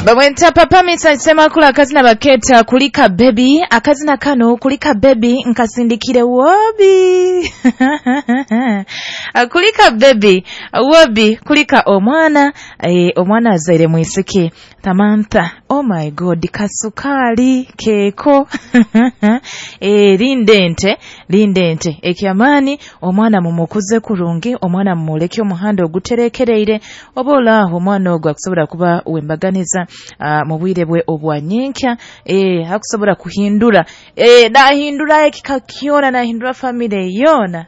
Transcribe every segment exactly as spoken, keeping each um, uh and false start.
Bamwenta Papa Misa Semakula akazina baketa kulika baby, akazina kano kulika baby nkasindikire wobi. Kulika baby wobi kulika omwana, e, omwana azaire mwisiki Samantha. Oh my God, kasukali keko. E, lindente lindente ekyamani omwana mumukuze kurungi, omwana mumuleke omuhanda oguterekereire obola omwana ogwo akusobola kuba wembaganiza uh, mu bwire bwe obwanyenkya, e, akusobola kuhindura, e, nahindura ekika kyona, nahindura family yona.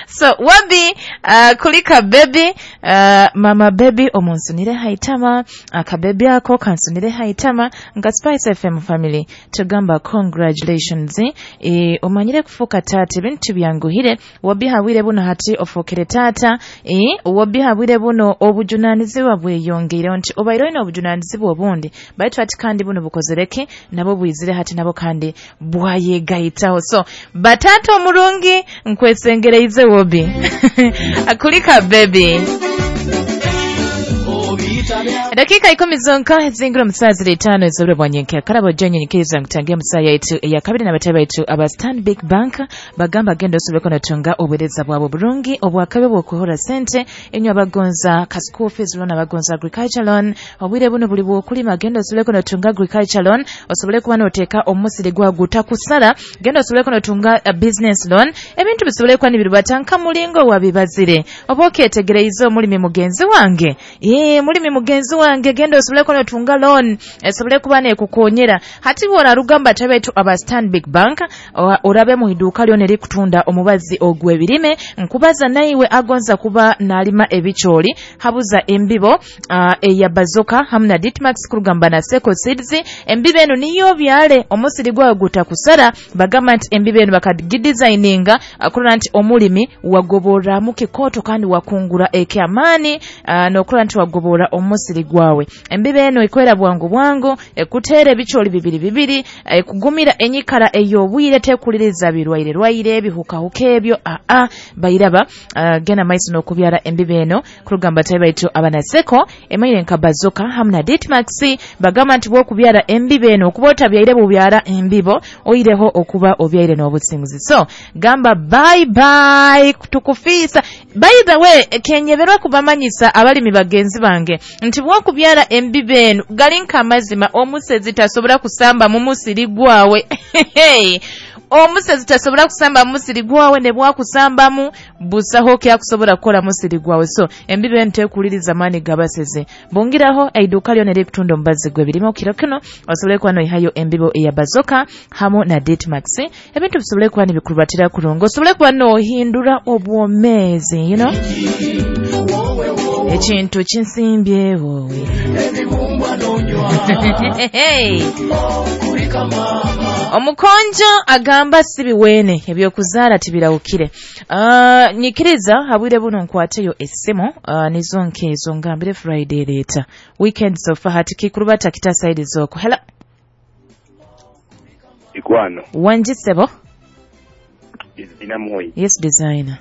So wabi uh, kulika baby, uh, mama baby omunsunire haitama, akabebi ako kansunire haitama nga Spice F M family tugamba congratulations. E, omanyire kufuka tata ebintu byanguhire, wabi hawire buno hati ofukire tata, e, wabi hawire buno obujunanizibwa bweyongeire nti obaire oyina obujunanizibwa obundi baitu hati kandi buno bukozereke nabo bwizire hati nabo kandi bwayegaitaho. So batata omurungi nkwesengereize wobi. Kulika baby. Dakika ikumi zonka zingiro musazi litano ezobure bwanyenke karabo jenye nyikiriza ngutangia musaya yetu ya kabiri na bataba yetu aba Stanbic Bank bagamba genda osobole notunga obuweereza bwabo bulungi obwakabe bw'okuhora sente enyo abagonza ka school fees loan, abagonza agriculture loan, obwire buno buli bw'okulima genda osobole notunga agriculture loan osobole kuba noteeka omusiri gwa gutakusala, genda osobole notunga a business loan, ebintu bisobole kuba nibirubata nka mulingo wabibazire oba okyetegereize omulimi mugenzi wange, ee mulimi mugenzi wange genda osobole kuba notunga loan esobole kuba nekukonyera. Hati bwona rugamba tabetu aba Stanbic Bank orabe mu iduka lyo nerikutunda omubazi ogw'ebirime nkubaza naiwe agonza kuba nalima ebicholi habuza embibo uh, eya bazoka hamna Ditmax kurugamba na Seko Seeds. Embibo eno niyo byale omusiri gwawe gutakusara, bagamba nti embibo eno bakagidesigninga akulora nti omulimi wagobora mu kikoto kandi wakungura ekyamani uh, nokulora nti wagobora omusiri gwawe. Embibo eno ikwera bwangu bwangu ekutere ebicholi bibiri bibiri ekugumira enyikara ey'obwire tekuliriza birwaire rwaire bihukahuka ebyo a a bairaba uh, gena maiso n'okubyara embibo eno kurugamba taibaitu abanaseko emaire nka bazoka hamna Ditmax bagamba nti bwokubyara embibo eno okuba otabyaire bubyara embibo oireho okuba obyaire n'obusinguzi. So gamba bye bye tukufisa. By the way, kenyeberwa kubamanyisa abalimi bagenzi bange nti bwokubyara embibo eno galinka amazima omusezi tasobola kusamba mu musiri gwawe. Omusezi tasobola kusamba mu musiri gwawe ne bwakusambamu busaho kyakusobola kukola musiri gwawe. So embibo eno tekuliriza maani gabaseze bongeraho eiduka lyo nerikutunda omubazi gw'ebirime kiro kino osobole kuba noihayo embibo eya bazoka hamu na Ditmax ebintu bisobole kuba nibikurubatira kurungi osobole kuba nohindura obwomeezi, you know, ekintu kinsimbye wowe. Omukonjo agamba sibiwene ebyokuzaala tibirawukire. Uh, nyikiriza habwire buno nkwateyo essimu uh, nizo nkezo ngambire Friday later weekend sofa hati kikurubata kitasaidi zoko. Hello Ikwano wanjisebo Dina Moyi. Yes designer.